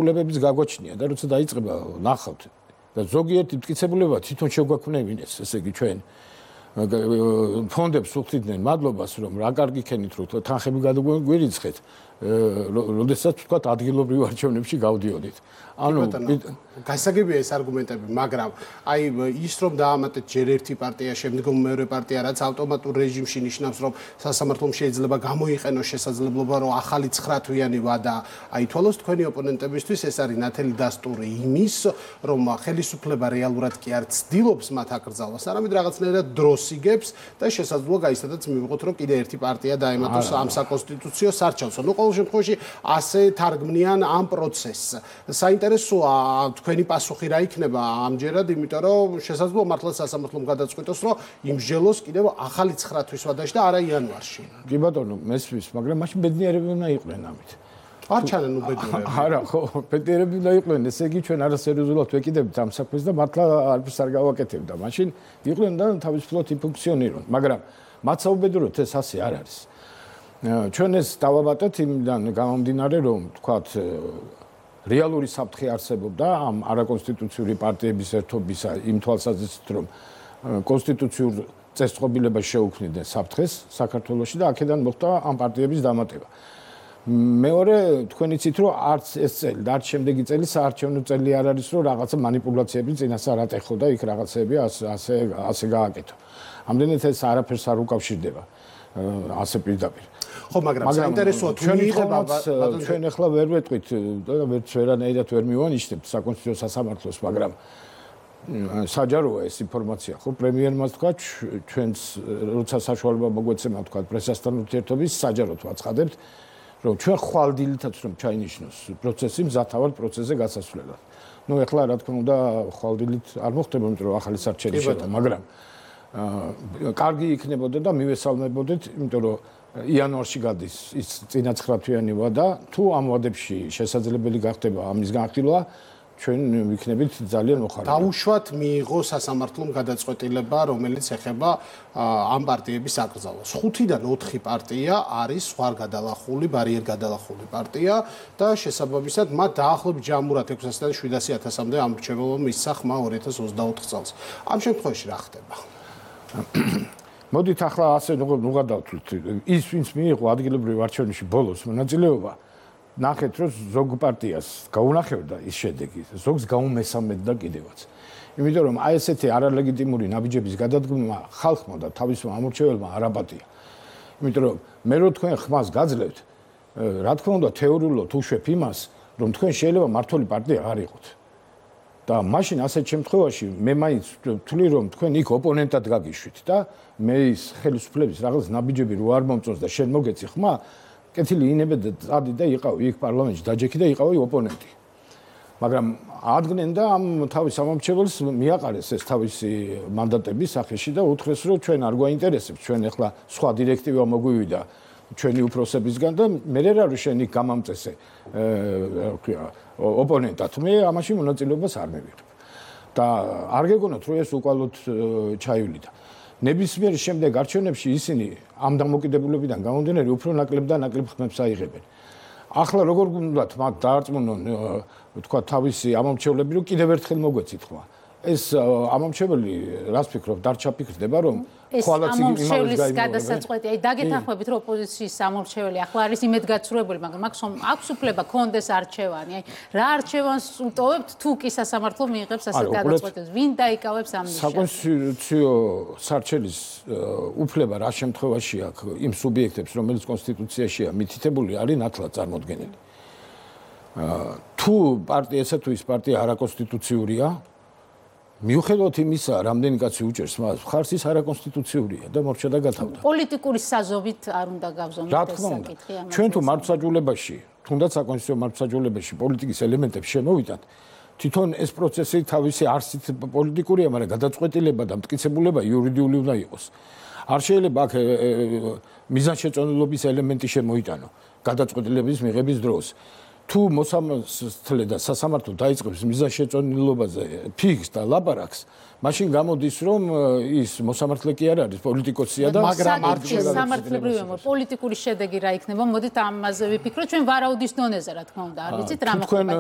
ულებების გაგვაჩნია და როცა დაიწყება ნახავთ და ზოგიერთი მტკიცებულება თვითონ შეგვაქმნებინეს, ესე იგი ჩვენ ფონდებს უხდიდნენ მადლობას რომ რა კარგი ქენით რომ თანხები გადაგვირიცხეთ, როდესაც თქვათ ადგილობრივ არჩევნებში გავდიოდით. ანუ გასაგებია ეს არგუმენტები, მაგრამ აი ის რომ დაამატეთ ჯერ ერთი პარტია, შემდგომ მეორე პარტია, რაც ავტომატურ რეჟიმში ნიშნავს, რომ სასამართლომ შეიძლება გამოიყენოს შესაძლებლობა, რომ ახალი 9 თვიანი ვადა აითვალოს თქვენი ოპონენტებისთვის, ეს არის ნათელი დასტური იმის, რომ ხელისუფლება რეალურად კი არ ცდილობს მათ აკრძალვას, არამედ რაღაცნაირად დროს იგებს და შესაძლოა გაიცადაც მივიღოთ, რომ კიდე ერთი პარტია დაემატოს ამ საკონსტიტუციო სარჩელს. ნუ ყოველ შემთხვევაში ასე თარგმნიან ამ პროცესს. საინტერესოა თქვენი პასუხი რა იქნება ამჯერად, იმიტომ რომ შესაძლოა მართლაც სასამართლომ გადაწყვიტოს, რომ იმსჯელოს კიდევ ახალი 9 თვის ვადაში და არა იანვარში. კი ბატონო, მესმის, მაგრამ მაშინ ბედნიერები უნდა იყვნენ ამით. არ ჩანენ ბედნიერები. არა, ხო, ბედნიერები უნდა იყვნენ, ესე იგი ჩვენ არასერიოზულად ვეკიდებთ ამ საქმეს და მართლა არც არ გავაკეთებდა. მაშინ იყვნენ და თავისუფლად იფუნქციონირონ, მაგრამ მათ საუბედუროთ ეს ასე არ არის. ჩვენ ეს დავამატეთ იმიდან გამომდინარე, რომ თქვათ რეალური საფრთხე არსებობდა ამ არაკონსტიტუციური პარტიების ერთობისა იმ თვალსაზრისით, რომ კონსტიტუციურ წესწყობილებას შეუქმნიდნენ საფრთხეს საქართველოში და აქედან მოხდა ამ პარტიების დამატება. მეორე თქვენ იცით, რომ არც ეს წელი და არც შემდეგი წელი საარჩევნო წელი არ არის, რომ რაღაცა манипуляციები წინასწარ ატეხო და იქ რაღაცები ასე გააკეთო. ამდენად ეს არაფერს არ უკავშირდება ასე პირდაპირ. ხო, მაგრამ საინტერესოა თუ მიიღება ჩვენ ახლა ვერ ვეტყვით და ვერც ვერანაირად ვერ მივანიშნებთ საკონსტიტუციო სასამართლოს, მაგრამ საჯაროა ეს ინფორმაცია. ხო, პრემიერმა თქვა ჩვენს როცა საშუალება მოგვეცემა თქვა პრესასთან ურთიერთობის საჯაროდ ვაცხადებთ, რომ ჩვენ ხვალდილითაც რომ ჩაინიშნოს პროცესი მზათავად პროცესზე გასასვლელად. ნუ ახლა რა თქმა უნდა ხვალდილით არ მოხდება, იმიტომ რომ ახალი სარჩელი შედა, მაგრამ კარგი იქნებოდა და მივესალმებოდეთ, იმიტომ რომ იანვარში გადის ის წინა 9 თვიანი ვადა, თუ ამ ვადებში შესაძლებელი გახდება ამის განხილვა, ჩვენ ვიქნებით ძალიან მოხარული. დაუშვათ მიიღო სასამართლომ გადაწყვეტილება, რომელიც ეხება ამ პარტიების აკრძალვას. 5-დან 4 პარტია არის ზღვარ გადალახული, ბარიერ გადალახული პარტია და შესაბამისად მათ დაახლოებით ჯამურად 600-დან 700.000-მდე ამრჩეველობა მისცა ხმა 2024 წელს. ამ შემთხვევაში რა ხდება? მოდით ახლა ასე ნუღადავთ ის ვინც მიიღო ადგილობრივ არჩევნებში ბოლოს მონაწილეობა, ნახეთ რომ ზოგ პარტიას გაუნახებდა ის შედეგი, ზოგს გაუმესამედდა კიდევაც. იმიტომ რომ აი ესეთი არალეგიტიმური ნაბიჯების გადადგმა ხალხმა და თავისმა ამორჩეველმა არ აპატია. იმიტომ რომ მე რო თქვენ ხმას გაძლევთ, რა თქმა უნდა თეორიულად უშვებ იმას, რომ თქვენ შეიძლება მართული პარტია არ იყოთ. და მაშინ ასეთ შემთხვევაში მე მაინც ვთვლი რომ თქვენ იქ ოპონენტად გაგიშვით და მე ის ხელისუფლების რაღაც ნაბიჯები რო არ მომწონს და შენ მოგეცი ხმა, კეთილი ინებე და წადი და იყავი იქ პარლამენტში დაჯექი და იყავი ოპონენტი. მაგრამ ადგენენ და ამ თავის ამომრჩეველს მიაყარეს ეს თავისი მანდატები სახეში და უთხრეს რომ ჩვენ არ გვაინტერესებს, ჩვენ ახლა სხვა დირექტივა მოგვივიდა ჩვენი უფროსებისგან და მე რა რო შენ იქ გამამწესე ოპონენტად, მე ამაში მონაწილეობას არ მივიღებ. და არ გეგონოთ რომ ეს უკვალოდ ჩაივლიდა. ნებისმიერ შემდეგ არჩევნებში ისინი ამ დამოკიდებულებიდან გამომდინარე უფრო ნაკლებ და ნაკლებ ხმებს აიღებენ. ახლა როგორ გუნდათ მათ დაარწმუნონ თქვა თავისი ამომრჩევლები რომ კიდევ ერთხელ მოგვეცით ხმა. ეს ამომრჩეველი რას ფიქრობ, არ ჩაფიქრდება რომ ხვალაც იმავეს გადასაწყვეტი, აი დაგეთანხმებით რომ ოპოზიციის ამომრჩეველი ახლა არის იმედგაცრუებული, მაგრამ აქვს უფლება კონდეს არჩევანი. აი რა არჩევანს უტოვებთ თუ კი სასამართლო მიიღებს ასეთ გადაწყვეტილებას, ვინ დაიკავებს ამ ნიშნებს? საკონსტიტუციო სარჩელის უფლება რა შემთხვევაში აქვს იმ სუბიექტებს, რომელიც კონსტიტუციაშია მითითებული, არის ნათლად წარმოდგენილი. თუ პარტიასა თუ ის პარტია არაკონსტიტუციურია, მიუხედავად იმისა, რამდენი კაცი უჭერს მას, ხარს ის არაკონსტიტუციურია და მორჩა და გათავდა. პოლიტიკური საზობით არ უნდა გავზომოთ ეს საკითხი ამას. ჩვენ თუ მართლმსაჯულებაში, თუნდაც საკონსტიტუციო მართლმსაჯულებაში პოლიტიკის ელემენტებს შემოვიდათ, თვითონ ეს პროცესი თავისი არსით პოლიტიკურია, მაგრამ გადაწყვეტილება და მტკიცებულება იურიდიული უნდა იყოს. არ შეიძლება აქ მიზანშეწონილობის ელემენტი შემოიტანო გადაწყვეტილების მიღების დროს. თუ მოსამართლე და სასამართლო დაიწყებს მიზანშეწონილობაზე ფიქს და ლაპარაკს, მაშინ გამოდის რომ ის მოსამართლე კი არ არის პოლიტიკოსია და მაგრამ სამართლებრივია პოლიტიკური შედეგი რა იქნება, მოდით ამაზე ვიფიქროთ ჩვენ ვარაუდის დონეზე რა თქმა უნდა, არ ვიცით რა მოხდება.